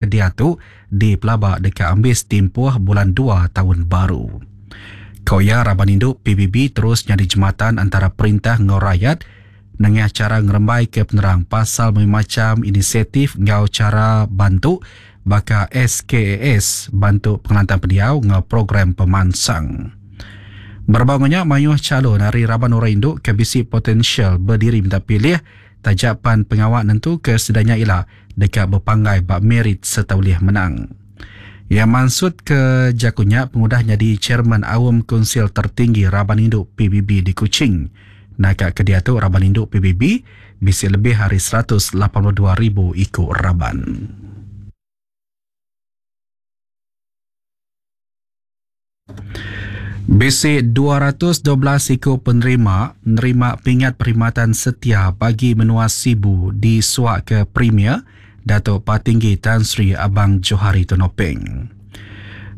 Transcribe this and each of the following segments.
Diatu dipelaba deka ambis timpuh bulan dua taun baru. Ku iya, raban indu PBB terus nyadi jematan antara perintah enggau rayat nengah chara ngerembaika penerang pasal mayuh macham inisiatif enggau chara bantu baka SKAS, Bantu Pengelantang Pendiau enggau Program Pemansang. Berebak enggau nya, mayuh chalun ari raban orang indu ke bisi potensial bediri minta pilih Taja pan pengawa nentuka sida nya ila deka bepanggai ba merit sereta ulih menang. Iya mansutka jaku nya pengudah nyadi chairman Aum Kunsil Tertinggi Raban Indu PBB di Kuching. Naka ke diatu raban indu PBB bisi lebih ari 182 ribu iku raban. Bisi 212 iku penerima nerima Pingat Perkhidmatan Setia Bagi Menua Sibu disuaka Premier Datuk Patinggi Tan Sri Abang Johari Tun Openg.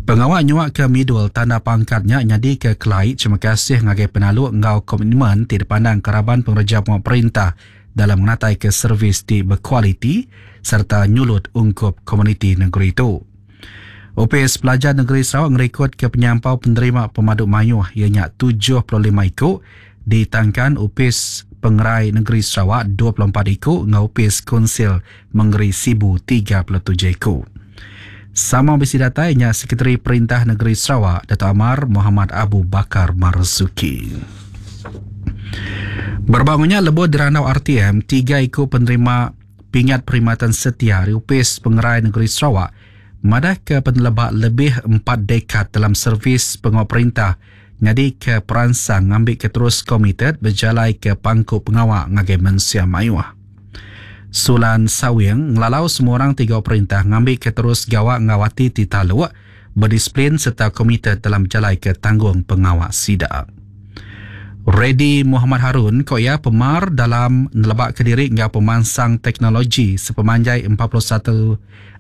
Pengawa nyuaka midul tanda pangkat nya nyadika kelai terima kasih ngagai penaluk enggau komitmen ti dipandangka raban pengereja pengawa perintah dalam ngenataika servis ti bekualiti sereta nyulut ungkup komuniti nengeri tu. Opis Pelajar Negeri Sarawak ngerikodka penyampau penerima pemadu mayuh iya nya 75 iku ditangkan Opis Pengerai Negeri Sarawak 24 iku enggau Opis Kunsil Mengeri Sibu 37 iku. Sama bisi datai nya Sekretari Perintah Negeri Sarawak Datuk Amar Mohamad Abu Bakar Marzuki. Berebak enggau nya lebuh dirandau RTM, tiga iku penerima Pingat Perkhidmatan Setia ari Opis Pengerai Negeri Sarawak madahka peneleba lebih empat dekad dalam servis pengawa perintah nyadika peransang ngambika terus komited bejalaika pangku pengawa ngagai mensia mayuh. Sulan Sawing ngelalau semua orang ti gawa perintah ngambika terus gawa enggau ati ti taluk, bedisiplin sereta komited dalam bejalaika tanggungpengawa sida. Reddy Muhammad Harun, ku iya pemar dalam nelebaka diri enggau pemansang teknologi sepemanjai 41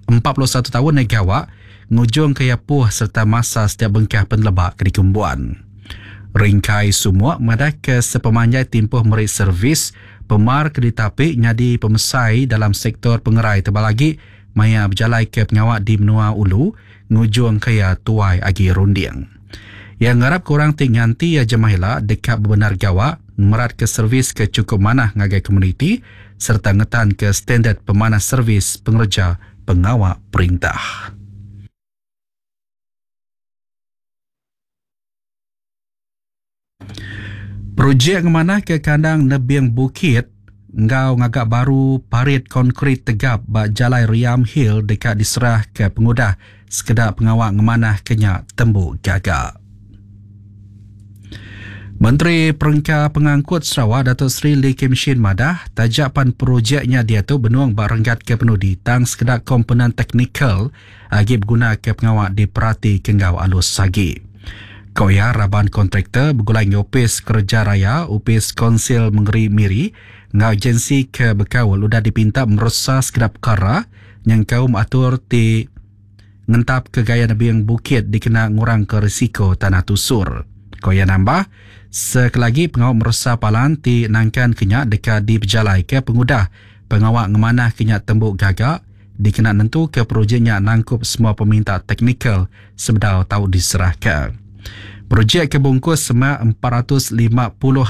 41 taun iya gawa ngujungka iya puh sereta masa setiap bengkah peneleba ke dikembuan. Ringkai Sumuk madahka sepemanjai timpuh meri servis, pemar ke ditapi nyadi pemesai dalam sektor pengerai tebal agi maya bejalaika pengawa di menua ulu ngujungka iya tuai agi runding. Iya ngarapka orang ti nganti iya jemah ila deka bebendar gawa ngemeratka servis ke chukup manah ngagai komuniti sereta ngetanka standard pemanah servis pengereja pengawa perintah. Projek ngemanahka kandang nebing bukit enggau ngaga baru parit konkrit tegap ba Jalai Riam Hill deka diserahka pengudah sekeda pengawa ngemanahka nya tembu gaga. Menteri Perengka Pengangkut Sarawak Datuk Seri Lee Kim Shin madah, taja pan projek nya diatu benung ba renggat ke penudi tang sekeda komponen teknikal agi begunaka pengawa diperatika enggau alus agi. Ku iya, raban kontraktor begulai enggau Opis Kereja Raya, Opis Konsil Mengeri Miri enggau agensi ke bekaul udah dipinta meresa sekeda pekara nyengkaum atur ti ngentapka gaya nebing bukit dikena ngurangka risiko tanah tusur. Ku iya nambah, sekelagi pengawa meresa palan ti nangkanka nya deka dipejalaika pengudah pengawa ngemanahka nya tembu gaga, dikena nentuka projek nya nangkup semua peminta teknikal sebedau tau diserahka. Projek ke bungkus semak 450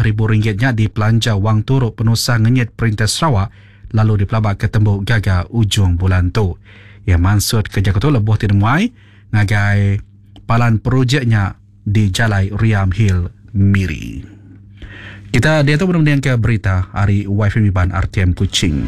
ribu ringgit nya dipelanja Wang Turu Penusah Ngenyit Perintah Sarawak lalu dipelabaka tembu gaga ujung bulan tu. Iya mansutka jaku tu lebuh ti nemuai ngagai palan projek nya di Jalai Riam Hill, Miri. Kita diatu benung mendingka berita ari YFM Iban RTM Kuching.